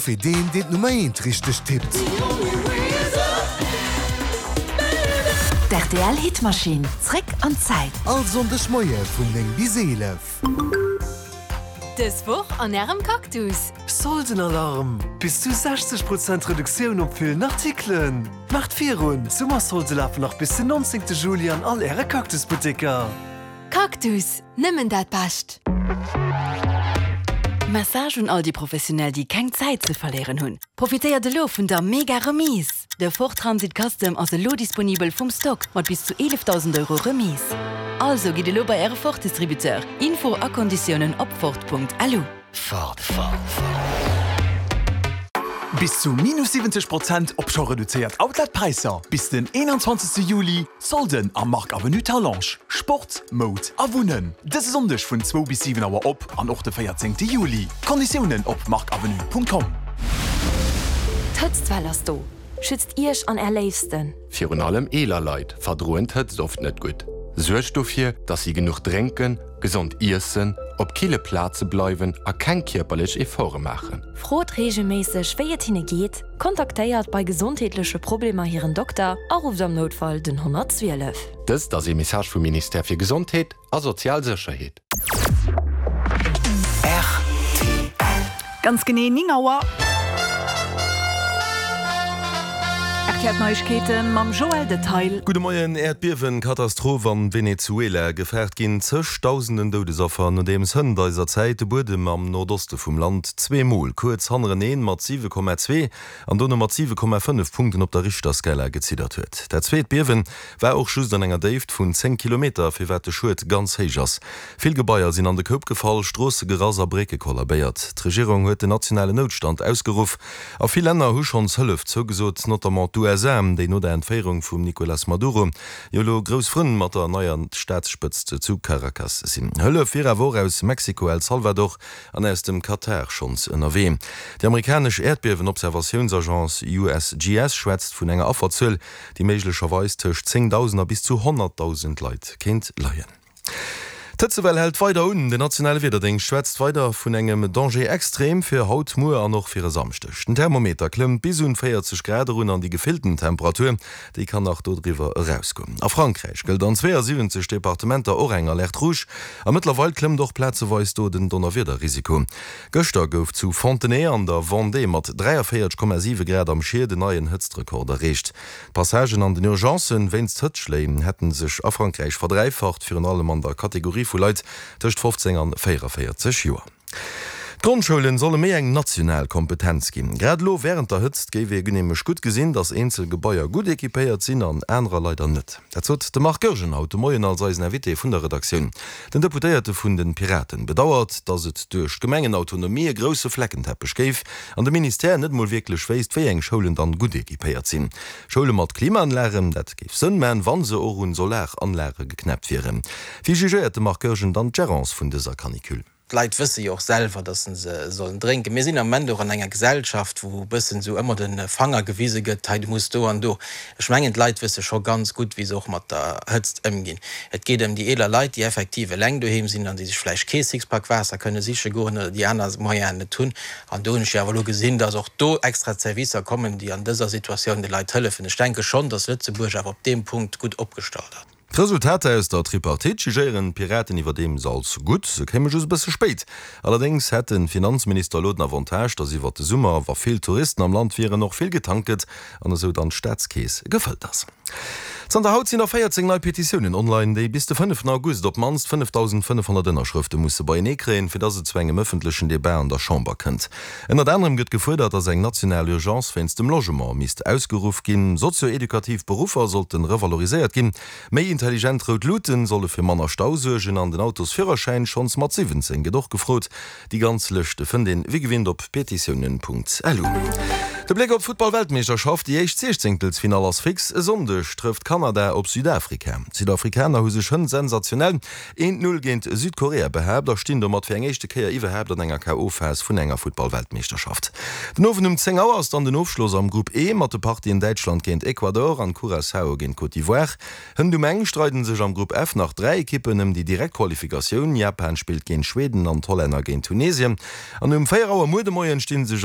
Fir deen, deen d'Nummer eent richteg tippt. D'RTL Hitmaschinn, zréck an d'Zäit. All Sonndeg Moie vun 9 bis 11. Dës Woch an Ärem Cactus. Soldenalarm! Bis zu 60 Prozent Reduktioun op villen Artikelen! Maacht virun, d'Summersolde lafen nach bis den 19 Juli an all Äre Cactus-Butteker! Cactus, nëmmen dat Bescht! Message un all déi Professionell déi keng Zäit ze verléieren hunn, Profitéiert elo vun der mega Remise! De Ford Transit Custom ass elo disponibel vum Stock mat bis zu 11.000 Euro Remise. Also gitt elo bei äre Ford Distributeur. Info a Konditiounen op Ford.lu. Ford. Bis zu minus 70 Prozent op scho reduzéiert Outlet-Präisser bis den 21 Juli. Solden am Marc Avenue Talange, Sport, Moud a Wunnen. Dëse Sonndeg vun zwou bis 7 Auer op an och de 14 Juli. Konditiounen op marcavenue.com. D'Hëtztwell ass do! Schützt Iech an Är Léifsten! Virun allem eeler Leit verdroen d'Hëtzt oft net gutt. Suergt dofir, dass si genuch drénken, gesond iessen, op kille Plaze bleiwen a keng kierperlech Efforte maachen. Frot reegelméisseg, wéi et hinne geet, kontaktéiert bei gesondheetleche Problemer hiren Dokter a rufft am Noutfall den 112. Dëst ass ee Message vum Ministère fir Gesondheet a sozial Sécherheet. Rtl. Ganz genee 9 Auer. RTL Neiegkeeten mam Joël Detail. Gudde Moien, Äerdbiewen-Katastroph an Venezuela, Gefaart ginn zëg Dausenden Doudesaffer, nodeems hënt eiser Zäit de Buedem am Nordoste vum Land zweemol kuerz hannereneen mat 7,2 an dono mat 7,5 Punkten op der Richterskala geziddert huet. Dat zweet Biewen war och just an enger Déift vun 10 Kilometer, firwat de Schued ganz héich ass. Vill Gebaier sinn an de Koup gefall, Stroosse gerass a Brécke kollabéiert. D'Regierung huet den nationalen Noutstand ausgeruff a vill Länner hu schonns Hëllef zougesot, notamment d'USA, déi no der Entféierung vum Nicolas Maduro jo elo grouss Frënn mat der neier Staatsspëtzt zu Caracas sinn. Hëllef wier awer och aus Mexiko, El Salvador an aus dem Katar schonns ënnerwee. Déi amerikanesch Äerdbiewen-Observatiounsagence USGS schwätzt vun enger Afferzuel, déi méiglecherweis tëscht 10.000 a bis zu 100.000 Leit kéint leien. D'Hëtzewell hält weider un. Den nationale Wiederdéngscht schwätzt weider vun engem Danger extrême fir haut, muer an och fir e Samschdeg. Den Thermometer klëmmt bis un 40 Grad erun an déi gefillten Temperatur, déi kann nach dodriwwer erausgoen. A Frankräich gëllt an 72 Departementer och eng Alerte rouge a mëttlerweil klëmmt och plazeweis do den Donnerwiederrisiko. Gëschter gouf zu Fontenay an der Vendée mat 43,7 Grad am Schied en neien Hëtztrekord erreecht. D'Passagen an den Urgencen wéinst Hëtzschléi hätte sech a Frankräich verdräifacht, virun allem an der Kategorie vu Leit tëscht 15 an 44 Joer. D'Grondschoulen solle méi eng national Kompetenz ginn. Grad elo wärend der Hëtzt géif ee nämlech gutt gesinn, datt eenzel Gebaier gutt equipéiert sinn an anerer leider net. Dat sot de Marc Goergen haut de Moien als eisen Invité vun der Redaktioun. Den Deputéierte vun de Piraten bedauert, datt et duerch d'Gemengenautonomie e grousse Fleckenteppech géif an de Ministère net mol wierklech wéisst, wéi eng Schoulen dann gutt equipéiert sinn. Schoule mat Klimaanlagen, dat géif Sënn man, wa se och un Solaranlage geknäppt wieren. Wéi jugéiert de Marc Goergen dann d'Gerance vun dëser Canicule? D'Leit wësse jo och selwer, datt se sollen drénken. Mir sinn am Moment och an enger Gesellschaft, wou e bëssen esou ëmmer de Fanger gewise gëtt, hei du muss do an do. Ech mengen, d'Leit wësse scho ganz gutt, wéi se och mat der Hëtzt ëmginn. Et geet ëm déi eeler Leit, déi effektiv eleng doheem sinn an déi sech vläicht kee Sixpack Waasser kënne siche goen oder déi aner Moyenen net hunn. An do hunn ech jo awer elo gesinn, datt och do extra Zerwisser kommen, déi an dëser Situatioun de Leit hëllefen. Ech denke schonn, datt Lëtzebuerg awer op deem Punkt gutt opgestallt ass. D'Resultater aus der Tripartite jugéieren d'Piraten iwwerdeems als gutt. Se kéime just e bësse spéit. Allerdéngs hätt de Finanzminister elo den Avantage, datt iwwert de Summer, wa vill Touristen am Land wieren, och vill getankt gëtt an esou dann d'Staatskeess gefëllt ass. Zanter haut sinn der 14 nei Petitiounen online, déi bis de fënneften August op d'mannst 5.500 Ënnerschrëfte musse beienee kréien, fir datt et zu engem ëffentlechen Debat an der Chamber kënnt. Ënnert anerem gëtt gefuerdert, datt eng national Urgence wéinst dem Logement misst ausgeruff ginn, sozio-edukativ Beruffer sollte revaloriséiert ginn, méi intelligent rout Luuten solle fir manner Stau suergen an den Autosführerschäin schonns mat 17 gëtt och gefrot. Déi ganz Lëscht fënnt een wéi gewinnt op petitiounen.lu. De Bléck op d'Futtball-Weltmeeschterschaft, Déi éischt Siechzéngtelsfinall ass fix, E Sonndeg trëfft Kanada op Südafrika. D'Südafrikaner hu sech hënt sensationell eent Null géint Südkorea behaapt a stinn domat fir eng éischte Kéier iwwerhaapt an enger KO-Phas vun enger Futtball-Weltmeeschterschaft. Den Owend um 10 Auer ass dann den Ofschloss am Grupp E mat de Partien Däitschland géint Ecuador an Curaçao géint Côte d'Ivoire. Hënt um eng streiden sech am Grupp F nach 3 Ekippen ëm déi direkt Qualifikatioun. Japan spillt géint Schweden an d'Hollänner géint Tunesien. An um 4 Auer muer de Moien stinn sech.